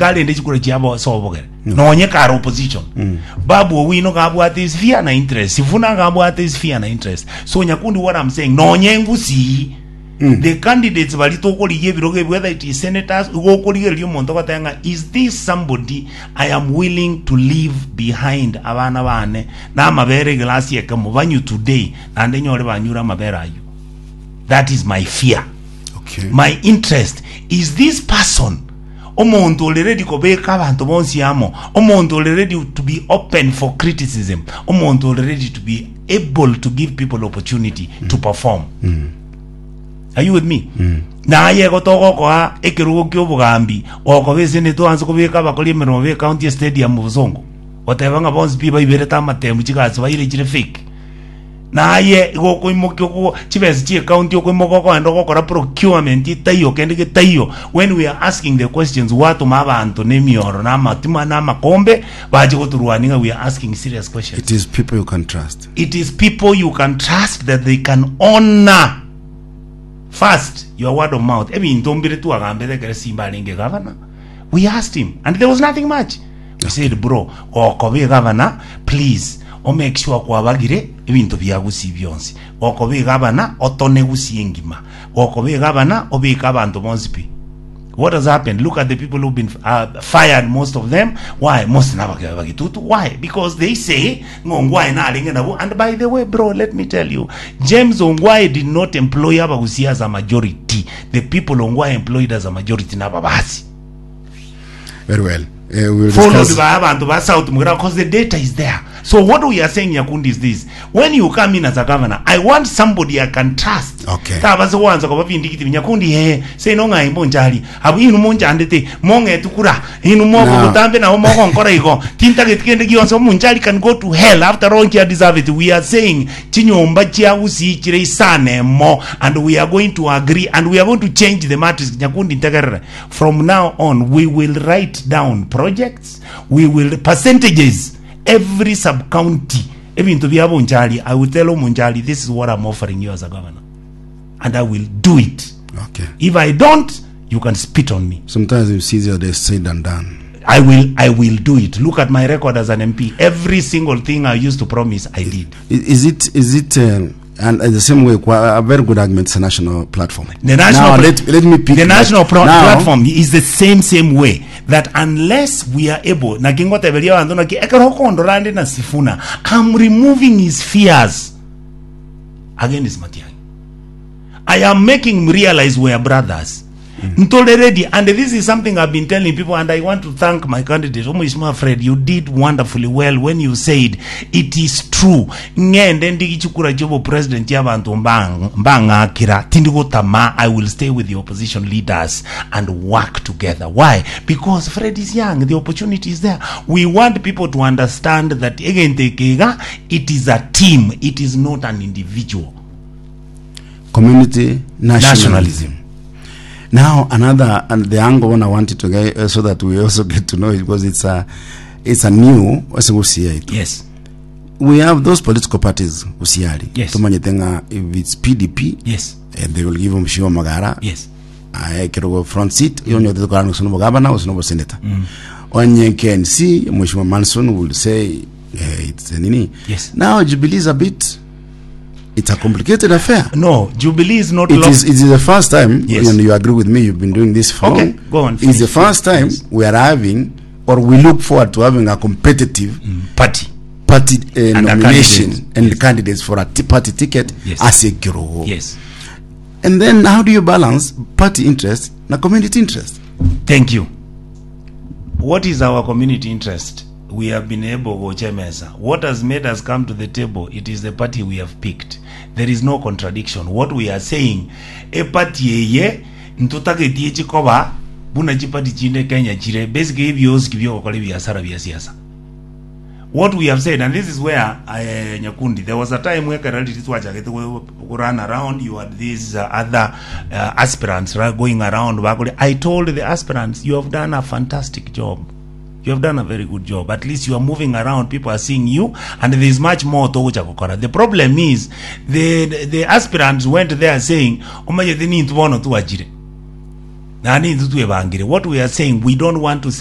Goika arende chikura chiabo ase obogere. Nonye kare opposition. Babu Owino gabwate sphere na interest. Sifuna gabwate sphere na interest. So Nyakundi what I'm saying, nonye ngusii the candidates bari tokorigia ebirogo ebi whether it is senators igo okorigereria omonto ogoteba ng'a is this somebody I am willing to leave behind abana bane na amabere eglasi ekemo banywe today naende nyore banyure amabere aywo. That is my fear. Okay. My interest is this person omonto ore ready kobeka abanto bonsi amo, omonto ore ready to be open for criticism, omonto ore ready to be able to give people opportunity to perform. Are you with me? Naye igo togokoa ekerogo kia obogambi gokoba esenete oanse kobeka abakori emeremo be county stadium bosongo goteba ng'a bonsi pi baiberete amatemu chigasi baire chire fake. Naye igo okoimokia oko chibesa chia ecounty okoimoka okoenda ogokora procurement etaiyo kende getaiyo when we are asking the questions gwatoma abanto na emioro na amatima na amakombe bache gotorwania ng'a we are asking serious questions. It is people you can trust. It is people you can trust that they can honor first your word of mouth. Ebinto mbire twagambete ekero Simba arenge gavana. We asked him and there was nothing much. We said bro, gokoba egavana please o make sure kwabagire ebinto bia Gusii bionsi. Gokoba egavana otone Gusii engima. Gokoba egavana obeke abanto bonsi pi. What has happened? Look at the people who've been uh, fired, most of them. Why? Most nabake bagitutu. Why? Because they say ng'ongwae narenge nabo. And by the way, bro, let me tell you, James Ongwae did not employ abagusi as a majority. The people Ongwae employed as a majority nababasi. Very well. Eh, we will followed discuss. by abantu ba South Mugera because the data is there. So what we are saying Nyakundi is this. When you come in as a governor, I want somebody I can trust. Okay. Tabase kwanza koba bindikiti Nyakundi he say no ng'ai monchari. Abu inu monchandete mong'etukura inu mogo Now- butambe nabo mogonkora igo. Tintageti kende gionsi omonchari can go to hell after all he deserve it. We are saying chinyomba chia Gusii chire isane mo and we are going to agree and we are going to change the matrix Nyakundi ntegerere. From now on we will write down projects, we will percentages every sub county ebinto bia Bonchari I will tell Omonchari this is what I'm offering you as a governor and I will do it. Okay. If I don't you can spit on me. Sometimes it's easier they said than done. I will I will do it. Look at my record as an MP. Every single thing I used to promise I did. Is it is it and in the same way kwa a very good argument is a national platform. The national now, pla- let, let me pick the that. national pro- Now, platform is the same same way that unless we are able naki ngoteberia abanto naki ekero okondora nde na Sifuna I'm removing his fears against Matiang'i I am making him realize we are brothers Ntore ready and this is something I've been telling people and I want to thank my candidate Omweshimiwa Fred you did wonderfully well when you said it is true ng'ende ndigi chikura chiobo president chiabanto mbang- mbang'akira tindi gotama I will stay with the opposition leaders and work together why because Fred is young the opportunity is there we want people to understand that egento eke iga it is a team it is not an individual community nationalism. Nationalism. Now another and the angle one I wanted to get so that we also get to know it because it's a it's a new ase gusii yaito. Yes. We have those political parties gusiari. Yes. Tumanyete ng'a if it's PDP Yes. eh, they will give Mheshimiwa Magara Yes. aye ekerogo front seat iyo onye otete korana gose nobogabana gose noboseneta onye KNC Mheshimiwa Manson will say eh, it's a nini Yes. now Jubilee is a bit it's a complicated affair No, Jubilee is not It lo- is, it is the first time, Yes. and you agree with me, you've been doing this for Okay, long. go on, It's the finish. first time Yes. we are having, or we look forward to having a competitive party. party uh, And a nomination candidate. and Yes. candidates for a t- party ticket Yes. as a kirogo. Yes. And then how do you balance party interest na community interest? Thank you. What is our community interest? We have been able gocha emesa. What has made us come to the table? It is the party we have picked. There is no contradiction. What we are saying, eparty eye ntotageti echi koba buna chiparty chinde Kenya chire basically ebioski biogokora ebiasara bia siasa. What we have said, and this is where uh, Nyakundi, there was a time where Karali twachagete go go run around, you had these uh, other uh, aspirants right, going around. Bakuri. I told the aspirants, you have done a fantastic job. You have done a very good job. At least you are moving around, people are seeing you, and there is much more togocha gokora. The problem is, the, the aspirants went there saying, omanyete nintu bono twachire. Na nintu twebangire. What we are saying, we don't want to